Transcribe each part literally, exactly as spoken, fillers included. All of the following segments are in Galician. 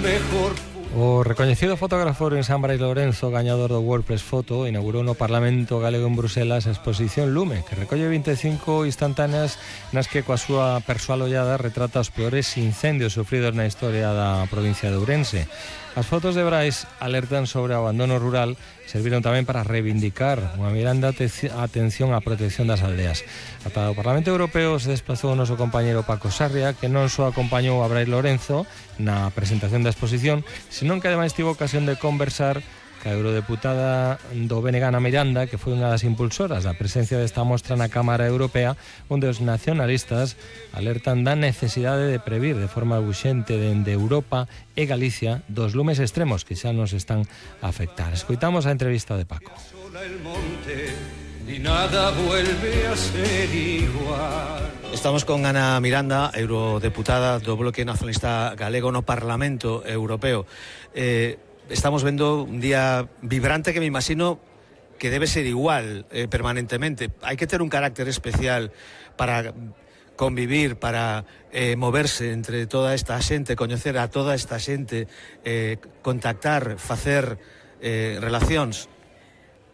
mejor. O recoñecido fotógrafo Ourensán Brais Lorenzo, gañador do WordPress Foto, inaugurou no Parlamento Galego en Bruselas a exposición Lume, que recolle vinte e cinco instantáneas nas que coa súa persoal ollada retrata os peores incendios sufridos na historia da provincia de Ourense. As fotos de Brais alertan sobre o abandono rural, serviron tamén para reivindicar unha miranda a atención á protección das aldeas. Ata o Parlamento Europeo se desplazou o noso compañeiro Paco Sarria, que non só acompañou a Brais Lorenzo na presentación da exposición, senón que ademais tivo ocasión de conversar ca eurodeputada do B N G Ana Miranda, que foi unha das impulsoras da presencia desta mostra na Cámara Europea, onde os nacionalistas alertan da necesidade de previr de forma urxente dende Europa e Galicia dos lumes extremos que xa nos están a afectar. Escoitamos a entrevista de Paco. Y nada vuelve a ser igual. Estamos con Ana Miranda, eurodeputada do Bloque Nacionalista Galego no Parlamento Europeo. Eh, estamos vendo un día vibrante que me imagino que debe ser igual eh, permanentemente. Hai que ter un carácter especial para convivir, para eh, moverse entre toda esta xente, coñecer a toda esta xente, eh, contactar, facer eh, relacións.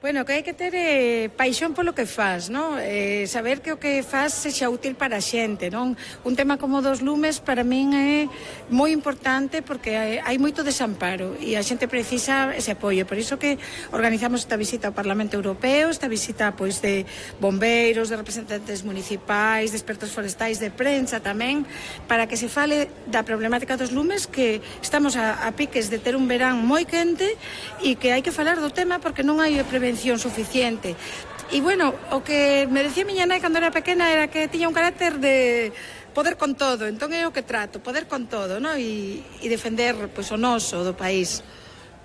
Bueno, que hai que ter eh, paixón polo que faz, non? Eh, saber que o que faz sexa útil para a xente, non? Un tema como dos lumes para min é moi importante porque hai, hai moito desamparo e a xente precisa ese apoio. Por iso que organizamos esta visita ao Parlamento Europeo, esta visita pois de bombeiros, de representantes municipais, de expertos forestais, de prensa tamén, para que se fale da problemática dos lumes, que estamos a, a piques de ter un verán moi quente e que hai que falar do tema porque non hai prevención suficiente. E bueno, o que me decía miña nai cando era pequena era que tiña un carácter de poder con todo, entón é o que trato, poder con todo, ¿no? E, e defender pois, o noso do país.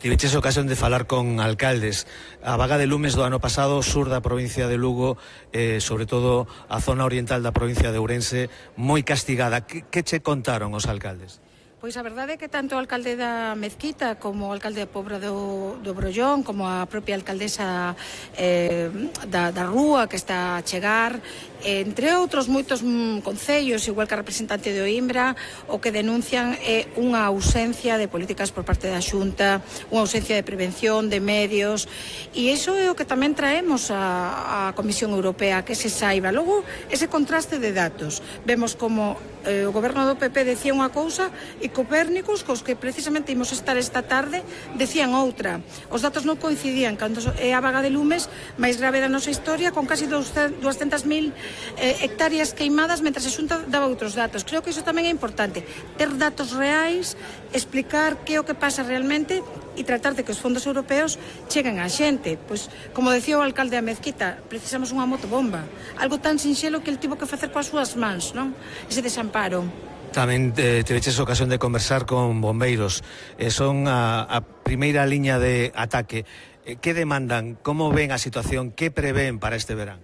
Tiveches ocasión de falar con alcaldes. A vaga de lumes do ano pasado, sur da provincia de Lugo, eh, sobre todo a zona oriental da provincia de Ourense, moi castigada. Que, que che contaron os alcaldes? Pois a verdade é que tanto o alcalde da Mezquita como o alcalde da Pobra do, do Brollón, como a propia alcaldesa eh, da, da Rúa que está a chegar, eh, entre outros moitos mm, concellos, igual que a representante de Oimbra, o que denuncian é unha ausencia de políticas por parte da Xunta, unha ausencia de prevención, de medios, e iso é o que tamén traemos a, a Comisión Europea, que se saiba. Logo, ese contraste de datos. Vemos como eh, o goberno do P P decía unha cousa e Copérnicos, cos que precisamente imos estar esta tarde, decían outra. Os datos non coincidían cando é a vaga de lumes máis grave da nosa historia, con casi doscientas mil eh, hectáreas queimadas, mentras a Xunta daba outros datos. Creo que iso tamén é importante, ter datos reais, explicar que é o que pasa realmente e tratar de que os fondos europeos cheguen á xente. Pois, como decía o alcalde da Mezquita, precisamos unha motobomba, algo tan sinxelo que el tivo que facer coas súas mans, non? Ese desamparo. Tamén eh, teveches ocasión de conversar con bombeiros. Eh, son a, a primeira liña de ataque. Eh, que demandan? Como ven a situación? Que prevén para este verán?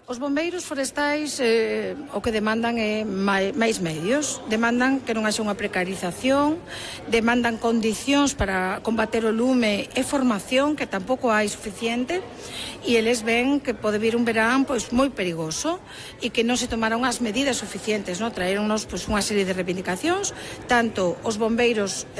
Os bombeiros forestais eh, o que demandan é máis medios, demandan que non haxa unha precarización, demandan condicións para combater o lume e formación, que tampouco hai suficiente, e eles ven que pode vir un verán pois moi perigoso e que non se tomaron as medidas suficientes, no? Traeronnos pois unha serie de reivindicacións, tanto os bombeiros eh,